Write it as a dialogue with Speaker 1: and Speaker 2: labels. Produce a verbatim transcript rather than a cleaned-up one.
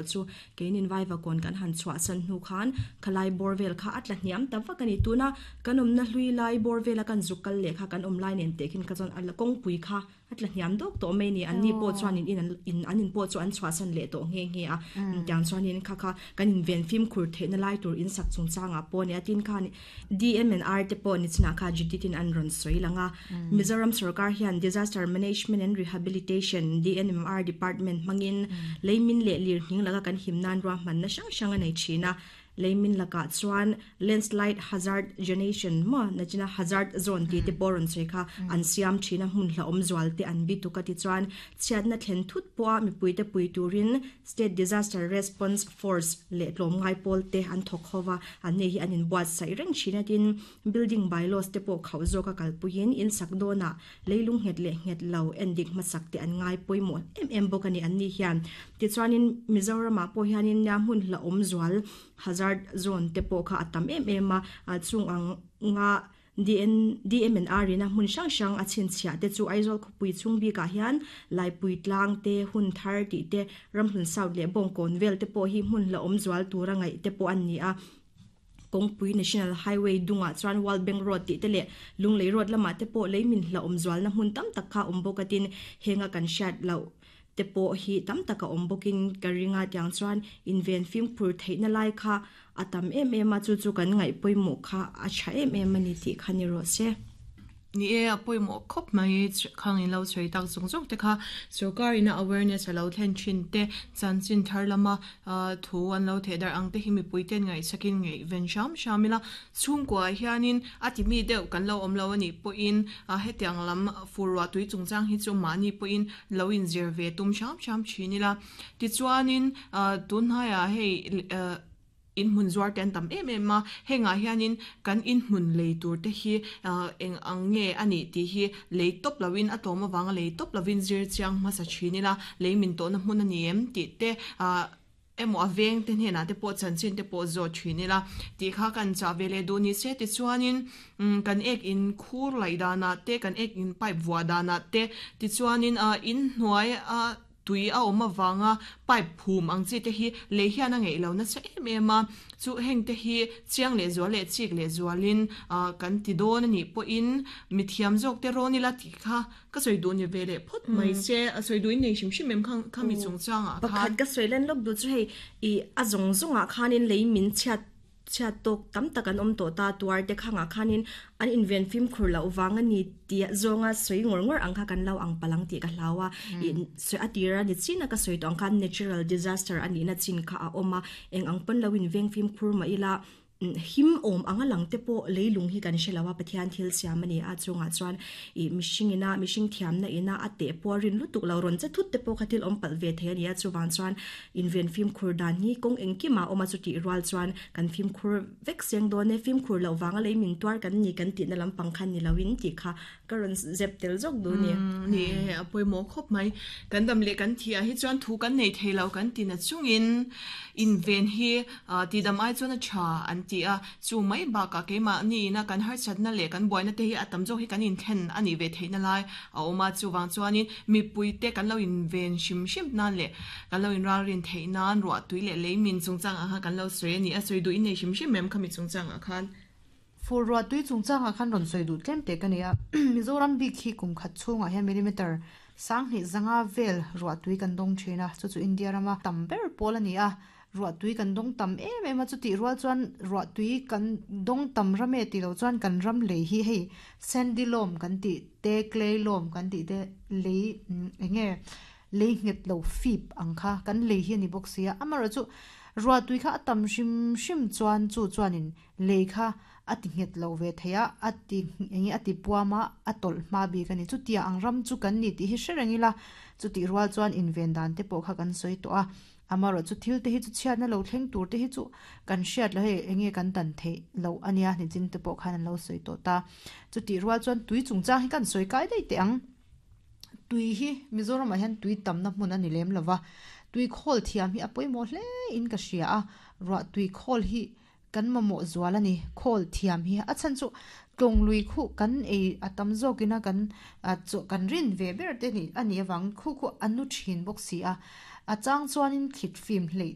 Speaker 1: Chu keinin Vaivakawn kan han chhuahsan hnu khan khalai bawr vel kha a tla hniam ta vak a ni. Tuna kan awmna hlui lai bawr vela kan zuk kal leh kha kan awm lai nen teh khin kha chuan a la kawngpui kha a tla hniam dawk tawh mai a ni. Anni pawh chuanin in an in an in pawh chu an chhuahsan leh tawh nghe nghe a. Tiang chuanin kha kha kan inven fimkhur theihna lai tur in sak chungchangah pawh a ni a. Tin khan D M and R te pawh ni chinah kha Judith-in an rawn sawi lang a. Mizoram sorkar hian Disaster Management and Rehabilitation, D N M R Department hmangin leimin leh lirnghing laka kan him nan ruahmanna hrang hrang a nei thin a. Leimin lakah chuan landslide hazard zonation maw nachina hazard zone tih te pawh rawn sawi kha an siam thin a, hmun hlauhawm zual te an bi tuk a. Tichuan chhiatna thlen thut pawha mipui te pui turin State Disaster Response Force leh tlawmngai pawl te an thawk ho va, an nei hi an inbuatsaih reng thin a. Tin, building bylaws te pawh khauh zawk a kalpuiin in sak dawnah leilung nghet leh nghet lo en dik hmasak te an ngai pawimawh em em bawk a ni an ni hian. Tichuanin Mizoramah pawh hianin nia hmun hlauhawm zual hazard zone te pawh kha a tam em em a. Chung ang nga D N D M and R ina hmun hrang hrang a chhinchhiah te chu Aizawl khawpui chhung bikah hian Laipui tlang te, hun thar tih te, Ramhlun South leh Bawngkawn vel te pawh hi hmun hlauhawm zual tura ngaih te pawh an ni a. Kawngpui National Highway dungah chuan World Bank Road tih te leh Lunglei Road lamah te pawh leimin hlauhawm zualna hmun tam tak kha awm bawk a. Tin, henga kan hriat loh te pawh hi tam tak a awm bawkin ka ringa. Tiang chuan inven fimkhur theihna lai kha a tam em em a, chu chu kan ngaih pawimawh kha a tha em em a ni tih kha ni rawh se.
Speaker 2: Ni e, a pawimawh khawp mai khang in lo sawi tak zawng zawng te kha. Sorkar ina awareness a lo thlen thin te, chanchin thar lama thu an lo theh dar ang te hi mipui ten ngaih sakin ngaih ven hram hram ila. Chhungkua hianin a ti mi deuh kan lo awm lo anih pawhin a hetiang lam fur ruah tui chungchang hi chu mahni pawhin lo in zir ve tum hram hram thin ila. Tichuanin tun hnaiah hei in hmun zuar te an tam em em a, hengah hianin kan in hmun lei tur te hi eng ang nge anih tih hi lei tawp loin, a tlawm awanga lei tawp lovin zir chiang hmasa thin ila. Lei min tawhna hmun ani em tih te emaw a veng te hnenah te pawh chanchin te pawh zawt thin ila tih kha kan chah ve leh duh ni se. Tichuanin kan ek in khur laih danah te, kan ek in pipe vuah danah te, tichuanin in hnuai a tui a awm awanga pipe phum ang chi te hi lei hian a ngeih lo nasa em em a. Chu heng te hi chiang leh zual leh chik leh zualin kan ti dawn anih pawhin mithiam zawk te rawn ila tih kha ka sawi duh ni ve leh phawt mai se. A sawi duh in nei hrim hrim em khang khami chungchangah khan?
Speaker 1: Pakhat ka sawi len lawk duh chu hei i a zawng zawngah khanin lei min chhiat chhiat tawk tam tak an awm tawh ta tuar te khangah khanin an inven fimkhur loh wang ani ti zawnga sawi ngawr ngawr ang kha kan lo ang palang tih ka hlau a. I sawi a tira ni china ka sawi tawh ang khan natural disaster ani na chin kha a awm a. Eng ang pawn lo in veng fimkhur ma ila, him awm anga lang te pawh leilung hi kan hre lo a, Pathian thil siam ani a. Chungah chuan i mihring ina mihring thiamna ina a te pawh rin lutuk lo rawn che thut te pawh kha thil awm palh ve thei ani a. Chuwang chuan inven fimkhur dan hi kawng engkima awm a. Chu tih rual chuan kan fimkhur vek seng dawn e, fimkhur lo wanga lei min tuar kan ni kan tihna lampang khan ni loin tih kha ka rawn zep tel zawk du ni.
Speaker 2: Ni a pawimawh khawp mai. Kan dam leh kan thi a hi chuan thu kan nei thei lo kan ti na chungin inven hi ti dam ai chuan a tha an ti a. Chu mai bakah keimah ni ina kan harsatna leh kan buaina te hi a tam zawk hi kan inthlen ani ve theihna lai a awm a. Chuwang chuanin mipui te kan lo inven hrim hrim nan leh kan lo inral rin theih nan ruah tui leh lei min chungchang ang kha kan lo sawi ani. A sawi duh in nei hrim hrim em khami chungchang ah khan?
Speaker 3: Fur ruah tui chungchangah khan rawn sawi duh tlem te ka ni a. Mizoram bik hi kum khat chhungah hian millimeter sanghnih zanga vel ruah tui kan dawng thin a, chu chu India rama tam ber pawl ani a. Ruah tui kan dawng tam em em a, chu tih rual chuan ruah tui kan dawng tam rame ti lo chuan kan ram lei hi hei sandy loam kan tih te, clay loam kan tih te, lei enge lei nghet lo fip ang kha kan lei hi ani bawk sia. Amara chu ruah tui kha a tam hrim hrim chuan chu chuanin lei kha a ti nghet lo ve theia, a ti enge a ti puama a tawlh hma bik ani. Chu tia ang ram chu kan ni tih hi hre reng ila. Chu tih rual chuan inven dan te pawh kha kan sawi tawh a. Amaro chu thil te hi chu chhiatna lo thleng tur te hi chu kan hriat lo, hei enge kan dan theih lo ania, ni chin te pawh khan an lo sawi tawh ta. Chu tih rual chuan tui chungchang hi kan sawi kai daih teh ang. Tui hi Mizoramah hian tui tamna hmun ani lem lova, tui khawl thiam hi a pawimawh hle in ka hria a. Ruah tui khawl hi kan mamawh zual ani khawl thiam hi. A chan chu tlawng lui khu kan ei a tam zawkina kan chu kan rin ve ber te ni ani awang khu khu anu thin bawk si a. A chang chuanin thlit fim hlei